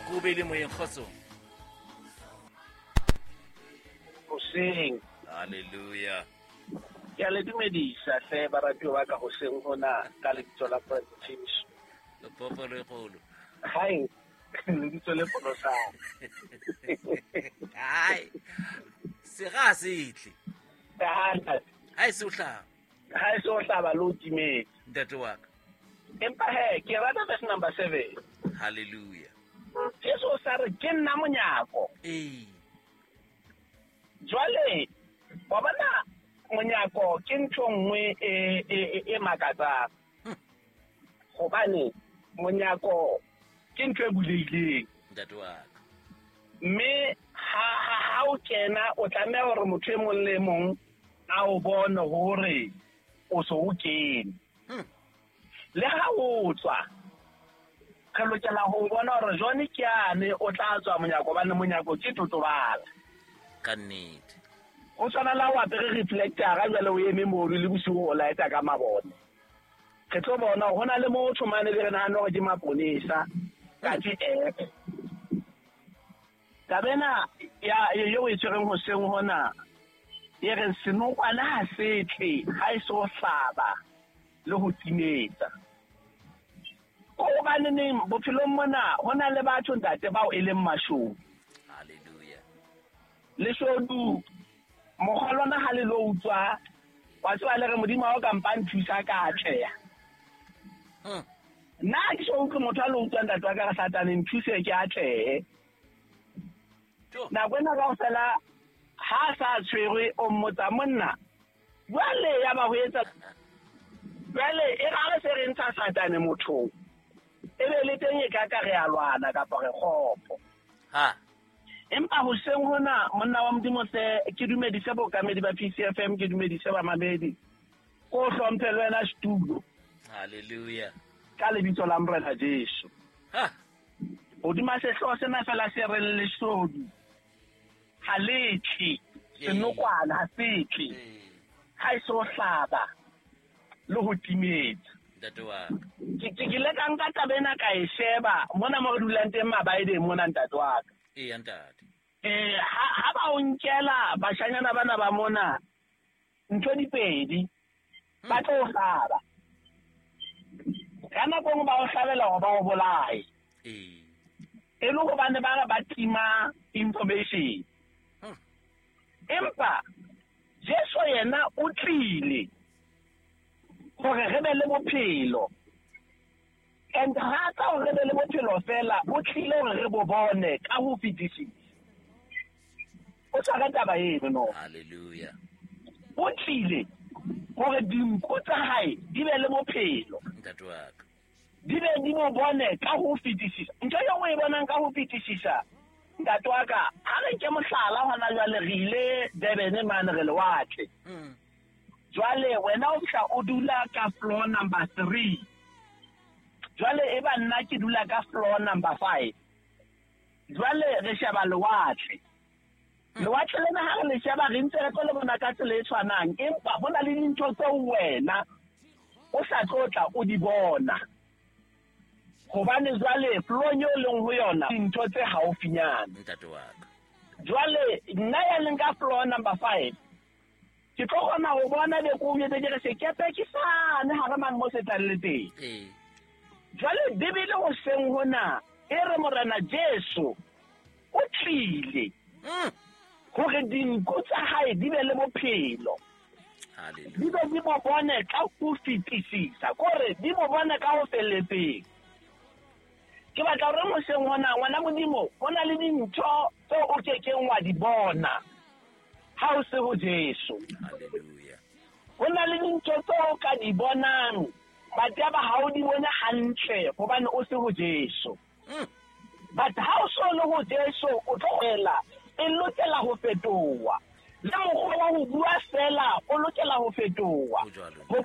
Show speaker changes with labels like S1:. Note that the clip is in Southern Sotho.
S1: Ko be le moyeng, kgotsong.
S2: Hoseng.
S1: Halleluja.
S2: Ke a le dumedisa hle baratuwa ba ka hoseng hona ka lebitso la Morena Jesu.
S1: Lepopo le kgolo.
S2: Hai, lebitso le pholosang.
S1: Hai. Sera se tle. Ha e se o hlaba.
S2: Ha e se o hlaba le o timetse.
S1: Ntate wa ka.
S2: Empa he, ke rata verse number 7.
S1: Halleluja.
S2: Jesu o sa re ke nna monyako.
S1: Ee.
S2: Jwale wa bona monyako ke ntho nngwe e makatsang. Hobane monyako ke ntho e bulehileng.
S1: Ntate wa ka.
S2: Mme ha o kena o tlameha hore motho e mong le mong a o bone hore o so o kene. Le ha o tswa re lokela ho bona hore jone ke ane o tla tswa monyako, hobane monyako ke totobala.
S1: Ka nnete.
S2: O tshwana le ha o apere reflector-a jwale o eme mono le bosiu o laeta ka mabone. Re tlo bona hore ho na le motho mane be re nahana hore ke maponesa, katse ee. Taba ena ya eo e tshwereng hoseng hona e re senokwane ha se tle ha e so hlaba le ho timetsa. Ko hobaneneng bophelong mona ho na le batho ntate bao e leng mashodu.
S1: Halleluja.
S2: Leshodu mokgwa lona ha le lo utswa wa tseba le re Modimo ha o ka mpa nthusa ka atleha. Nna ha ke so utlwe motho a lo utswa ntate wa ka re Satane nthuse ke atlehe. Nako ena kaofela ha a sa tshwerwe o mmotsa monna jwale ya ba ho etsa jwale e ra re se re ntsha Satane mothong e be le teng e ka ka re a lwana kapa re kgopo.
S1: Ha.
S2: Empa hoseng hona monna wa Modimo se ke dumedise bookamedi ba PCFM, ke dumedise bamamedi. Ko hlomphe le wena setulo.
S1: Halleluja.
S2: Ka lebitso la Morena Jesu.
S1: Ha.
S2: Hodima sehlooho sena fela se reng leshodu ha le tle, senokwane ha se tle. Ha e so hlaba le ho timetsa.
S1: Ntate wa ka.
S2: Ke ile ka nka taba ena ka e sheba mona mo re dulang teng Mabaedeng mona ntate wa ka.
S1: Eya ntate.
S2: Ha ba o nkela bashanyana bana ba mona ntho di pedi ba tlo hlaba. Ka nako nngwe ba o hlabela hore ba o bolaye. E le hobane ba re ba tima information. Empa Jesu yena o tlile hore re be le bophelo. And ha tla hore re be le bophelo fela, o tlile hore re bo bone ka ho fetisisa. O tshware taba eno no.
S1: Halleluja.
S2: O tlile hore dinku tsa hae di be le bophelo.
S1: Ntate wa ka.
S2: Di be di bo bone ka ho fetisisa. Ntho eo o e bonang ka ho fetisisa, ntate wa ka, ha re nke mohlala hona jwale re ile Durban mane re lewatle. Jwale wena o fihla o dula ka floor number 3. Jwale e ba nna ke dula ka floor number 5. Jwale re sheba lewatle. Lewatle lena ha re le sheba re ntse re tlo le bona ka tsela e tshwanang, empa ho na le dintho tseo wena o sa tlo tla o di bona. Hobane jwale floor-ong eo leng ho yona dintho tse haufinyana.
S1: Ntate wa ka.
S2: Jwale nna ya leng ka floor number 5 ke tlo kgona ho bona be ko jwetse ke re sekepe ke sane ha re mang mo se tlang le teng. Jwale Bibele hoseng hona e re Morena Jesu o tlile hore dinku tsa hae di be le bophelo. Di be di bo bone ka ho fetisisa, kore di bo bone ka ho felletseng. Ke batla hore hoseng hona ngwana Modimo ho na le dintho tseo o kekeng wa di bona ha o se ho Jesu.
S1: Halleluja.
S2: Ho na le dintho tseo o ka di bonang but ya ba ha o di bone hantle hobane o se ho Jesu. But ha o so le ho Jesu o tlo hwela e lokela ho fetoha. Le mokgwa wa ho bua fela o lokela ho fetoha.
S1: Ho jwalo.
S2: Hobane